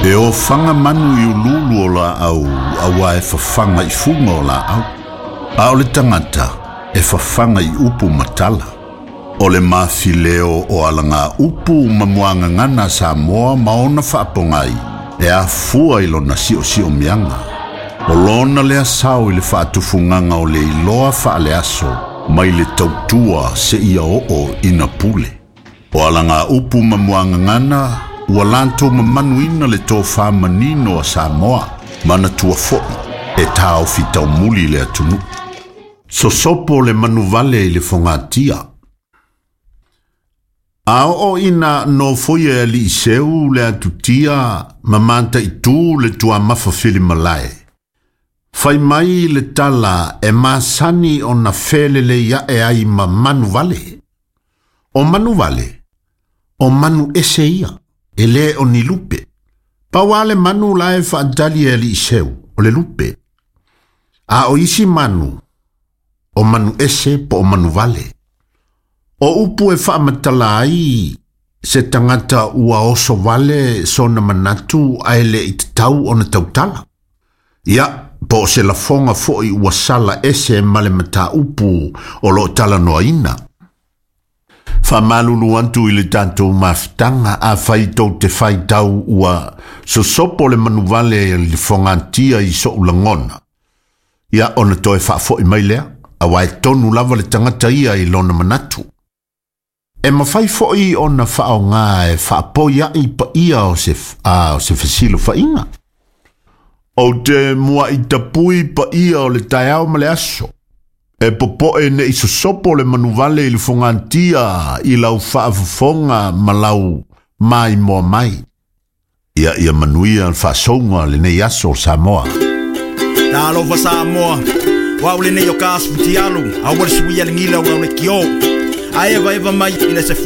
E ofaga manu i uluulu o laau auā e fafaga i fuga o laau. A o le tagata e fafaga i upu ma tala. O le mafileo o alagaupu ma muagagana a Samoa ma ona faapogai e afua i lona siosiomiaga. O lona lea sao i le faatufugaga o le iloa faaleaso mai le tautua seia oo ina pule. O alagaupu ma muagagana ua latou mamanuina le tofa manino a Samoa, manatua foi e taofi taumuli le atunuu. Sosopo le manuvale i le fogatia. A oo ina nofoia e alii seu le atutia ma mataitū le tuamafa filimalae, fai mai le tala e masani ona felelei ae ai ma manuvale. O manuvale, o manu ese ia, e lē o ni lupe. Pau lava le manu la e faatali e alii seu, o le lupe. A o isi manu, o manu ese po o manuvale. O upu e faamatala ai se tagata ua oso vale sona manatu ae le i tatau ona tautala. Ia, po o se lafoga foi ua sala ese ma le mataupu o loo talanoaina. Faamalulu atu i le tatou mafutaga afai tou te faitau ua sosopo le manuvale i le fogatia i so'u lagona. Ia ona toe faafo'i mai lea, auā e tonu lava le tagata ia i lona manatu. E mafai foi ona faaaogā e faapoia'i paia o se, a, o se fesilafaiga. Ou te mua'i tapui paia o le taeao ma le aso. E popo'e ne'i sosopo le manuvale i le fogatia i lau faafofoga ma lau maimoa mai. Ia ia manuia le faasouga lenei aso Samoa. Talofa Samoa, o au lenei o Kaas Futialu, a ua le suia le gila o le kio. Ae eva eva mai i le 10.